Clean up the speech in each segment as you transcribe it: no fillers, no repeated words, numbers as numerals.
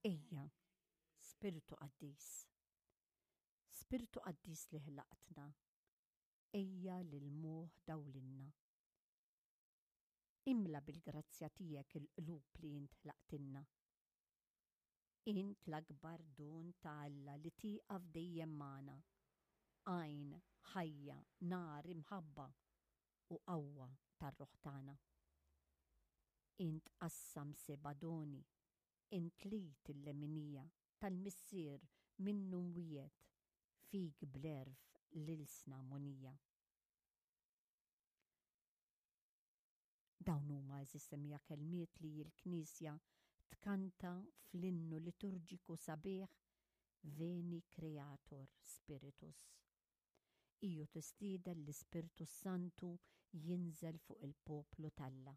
Ejja, Spirtu Qaddis. Spirtu Qaddis li ħlaqtna, ejja lil moħħ dawlilna. Imla bil-grazzja tiegħek il-qlub li int ħlaqtilna. Int l-akbar don ta' Alla li tieqaf dejjem magħna, għajn, ħajja, nar, imħabba u qawwa tar-ruħ tagħna. Int qassam seba' doni, int l-id il-leminija tal-Missier minnu mwiegħed, fik bl-għerf l-ilsna mogħnija. Dawn huma għeżież semmiegħa kelmiet li l-Knisja tkanta fl-innu liturġiku sabiħ Veni Creator Spiritus. Iju tistieden l-Ispirtu s-Santu jinżel fuq il-poplu t'Alla.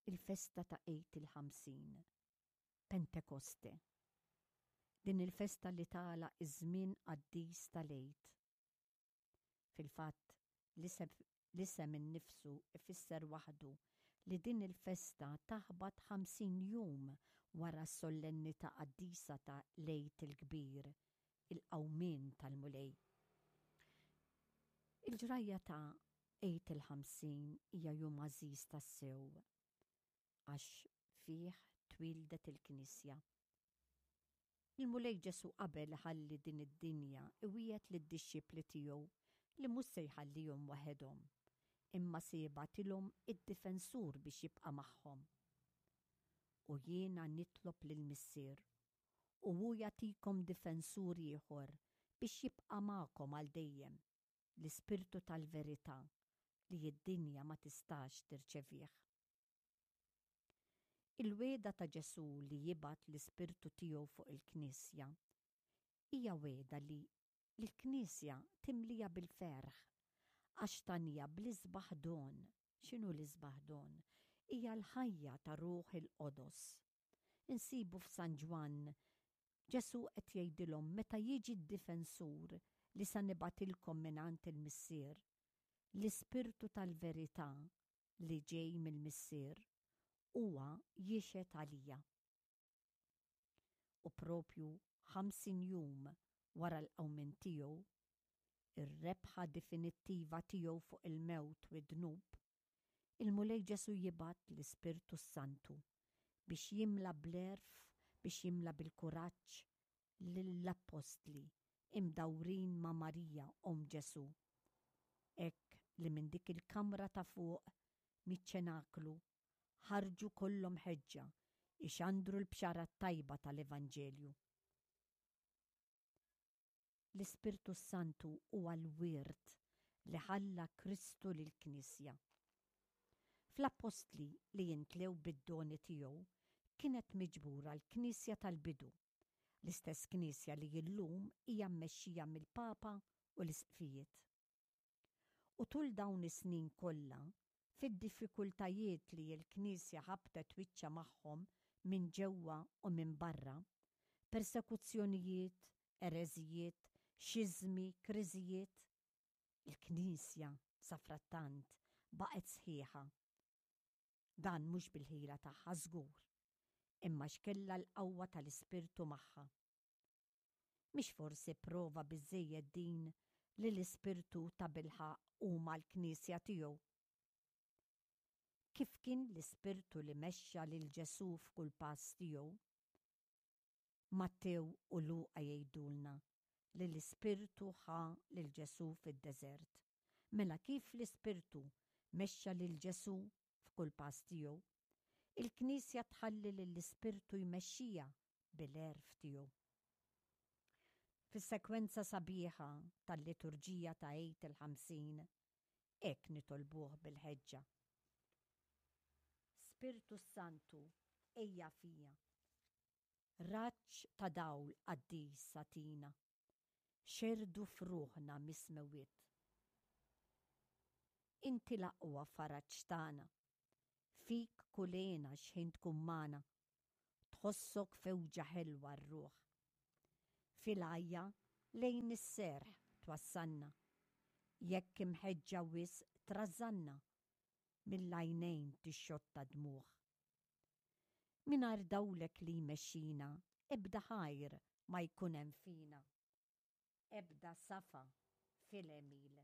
Il-festa ta' Għid il-50, Pentekoste. Din il-festa li tagħlaq iż-żmien qaddis tal-Għid. Fil-fatt, l-isem innifsu ifisser waħdu li din il-festa taħbat 50 jum wara s-sollennità qaddisa ta' l-Għid il-Kbir, il-Qawmien tal-Mulej. Il-ġrajja ta' Għid il-50 hija jum għażiż tassew għax fih twieldet il-Knisja. Il-Mulej Ġesù qabel iħalli din id-dinja iwiegħed lid-dixxipli tiegħu li mhux se jħallihom waħedhom, imma se jibgħatilhom id-Difensur biex jibqa' magħhom. U jiena nitlob lill-Missier, u hu jagħtikom Difensur ieħor biex jibqa' magħkom għal dejjem, l-Ispirtu tal-verità li d-dinja ma tistax tirċevih. Il-wegħda ta' Ġesù li jibgħat l-Ispirtu tiegħu fuq il-Knisja hija wegħda li lill-Knisja timliha bil-ferħ għax tagħniha bl-isbaħ don. X'inhu l-isbaħ don? Hija l-ħajja ta' Ruħ il-Qodos. Insibu f'San Ġwann Ġesù qed jgħidilhom meta jiġi d-Difensur li sa nibgħatilkom mingħand il-Missier, l-Ispirtu tal-verità li ġej mill-Missier, huwa jixhed għalija. U propju 50 jum wara l-qawmien tiegħu, ir-rebħa definittiva tiegħu fuq il-mewt u d-dnub, Il-Mulej Ġesù jibgħat l-Ispirtu s-Santu biex jimla bl-għerf, biex jimla bil-kuraġġ lill-appostli imdawrin ma' Marija omm Ġesù. Hekk li minn dik il-kamra ta' fuq miċ-ċenaklu ħarġu kollhom ħeġġa jxandru l-bxara t-tajba tal-Evanġelju. L-Ispirtu s-Santu huwa l-wirt li ħalla Kristu lill-Knisja. Fl-Appostli li jintlew bid-doni tiegħu kienet miġbura l-Knisja tal-bidu, l-istess Knisja li illum hija mmexxija mill-Papa u l-Isqfijiet. U tul dawn is-snin kollha, fid-diffikultajiet li l-Knisja ħabtet wiċċha magħhom minn ġewwa u minn barra, persekuzzjonijiet, ereżijiet, xiżmi, kriżijiet, il-Knisja, safrattant, baqgħet sħiħa. Dan mhux bil-ħila tagħha żgur, imma għax kellha l-qawwa tal-Ispirtu magħha. Mhix forsi prova biżżejjed din li l-Ispirtu tabilħaqq hu mal-Knisja tiegħu? Kif kien l-Ispirtu li mexxa lil Ġesù f'kull pass tiegħu? Mattew u Luqa jgħidulna li l-Ispirtu ħa lil Ġesù fid-deżert. Mela kif l-Ispirtu mexxa lil Ġesù f'kull pass tiegħu, il-Knisja tħalli lill-Ispirtu jmexxiha bil-għerf tiegħu. Fis-sekwenza sabiħa tal-liturġija ta' Għid il-50, hekk nitolbuh bil-ħeġġa. Spirtu s-Santu, ejja fija. Raġġ ta' dawl qaddis agħtina. Xerrdu f'ruħna mis-smewwiet. Inti l-aqwa faraġ tagħna. Fik kull hena x'ħin tkun magħna. Tħossok fewġa ħelwa r-ruħ. Fil-għajja lejn is-serħ twassalna. Jekk imħeġġa wisq trażżanna, mill-għajnejn tixxotta dmugħ. Mingħajr dawlek li jmexxina, ebda ħajr ma jkun hemm fina, ebda safa fil-għemil.